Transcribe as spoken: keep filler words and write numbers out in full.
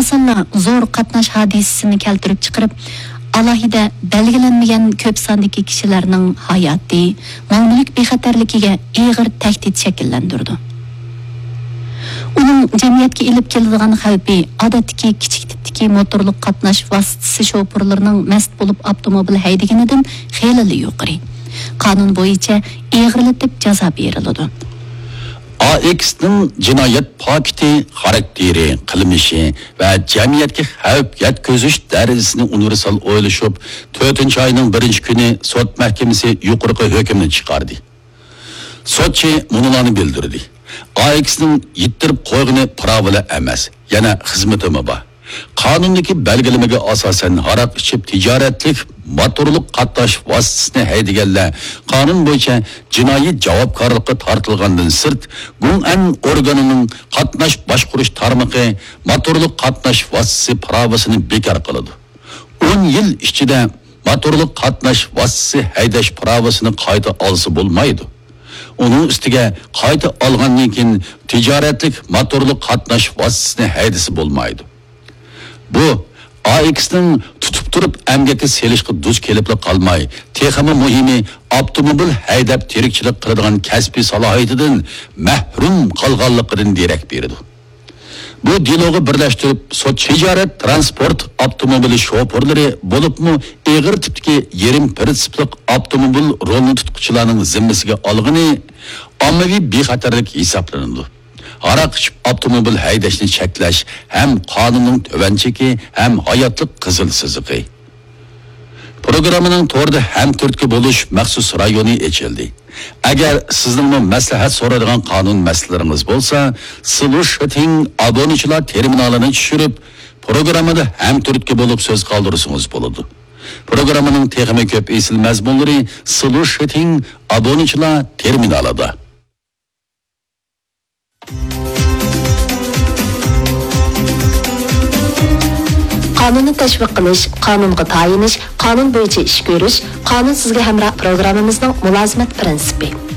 ئاسانلا زور قاتناش ھادىسىسىنى كەلتۈرۈپ چىقىرىپ، ئالاھىدە بەلگىلەنمىگەن كۆپ ساندىكى كىشىلەرنىڭ ھاياتى، مال-مۈلۈك بىخەتەرلىكىگە ئېغىر تەھدىت شەكىللەندۈرىدۇ. ئۇنىڭ جەمئىيەتكە ئېلىپ كېلىدىغان خەۋپى ئادەتتىكى كىچىك تىپتىكى موتورلۇق قاتناش ۋاسىتىسى شوپۇرلىرىنىڭ مەست بولۇپ ئاپتوموبىل ھەيدىگىنىدىن خېلىلا يۇقىرى. قانۇن بويىچە ئېغىرلىتىپ جازا بېرىلىدۇ. ئا ئېكسنىڭ جىنايەت پاكىتى، خاراكتېرى، قىلمىشى ۋە جەمئىيەتكە خەۋپ يەتكۈزۈش دەرىجىسىنى ئۇنىۋېرسال ئويلىشىپ، تۆتىنچى ئاينىڭ بىرىنچى كۈنى سوت مەھكىمىسى يۇقىرىقى ھۆكۈمنى چىقاردى. سوتچى مۇنۇلارنى بىلدۈردى: ئا ئېكسنىڭ يىتتۈرۈپ قويغىنى پىراۋىلا ئەمەس، يەنە خىزمىتىمۇ بار. قانۇندىكى بەلگىلىمىگە ئاساسەن، ھاراق ئىچىپ تىجارەتلىك موتورلۇق قاتناش ۋاسىتىسىنى ھەيدىگەنلەر قانۇن بويىچە جىنايى جاۋابكارلىققا تارتىلغاندىن سىرت، گۇڭئەن ئورگانىنىڭ قاتناش باشقۇرۇش تارمىقى موتورلۇق قاتناش ۋاسىتىسى پىراۋىسىنى بىكار قىلىدۇ. ئون يىل ئىچىدە موتورلۇق قاتناش ۋاسىتىسى ھەيدەش پىراۋىسىنى قايتا ئالسا بولمايدۇ. ئۇنىڭ ئۈستىگە قايتا ئالغاندىن كېيىن تىجارەتلىك موتورلۇق قاتناش ۋاسىتىسىنى ھەيدىسە بولمايدۇ. بۇ ئا ئېكسنىڭ تۇتۇپ تۇرۇپ ئەمگەككە سېلىشقا دۇچ كېلىپلا قالماي، تېخىمۇ مۇھىمى، ئاپتوموبىل ھەيدەپ تىرىكچىلىك قىلىدىغان كەسپىي سالاھىيىتىدىن مەھرۇم قالغانلىقىدىن دېرەك بېرىدۇ. بۇ دېلوغا بىرلەشتۈرۈپ سوت تىجارەت تىرانسپورت ئاپتوموبىلى شوپۇرلىرى، بولۇپمۇ ئېغىر تىپتىكى يېرىم پىرىنسىپلىق ئاپتوموبىل رولىنى تۇتقۇچىلارنىڭ زىممىسىگە ئالغىنى ئاممىۋى بىخەتەرلىك ھېسابلىنىدۇ. ھاراق ئىچىپ ئاپتوموبىل ھەيدەشنى چەكلەش ھەم قانۇننىڭ تۆۋەن چېكى، ھەم ھاياتلىق قىزىل سىزىقى. پروگراممىنىڭ توردا ھەمتۈرتكە بولۇش مەخسۇس رايونى ئېچىلدى. ئەگەر سىزنىڭمۇ مەسلىھەت سورايدىغان قانۇن مەسىلىلىرىڭىز بولسا، سىلۇشىتىڭ ئابۇنىچىلار تېرمىنالىنى چۈشۈرۈپ، پروگراممىدا ھەمتۈرتكە بولۇپ سۆز قالدۇرسىڭىز بولىدۇ. پروگراممىنىڭ تېخىمۇ كۆپ ئېسىل مەزمۇنلىرى سىلۇشىتىڭ ئابۇنىچىلار تېرمىنالىدا. قانۇننى تەشۋىق قىلىش، قانۇنغا تايىنىش، قانۇن بويىچە ئىش كۆرۈش، قانۇن سىزگە ھەمراھ پروگراممىمىزنىڭ مۇلازىمەت پىرىنسىپى.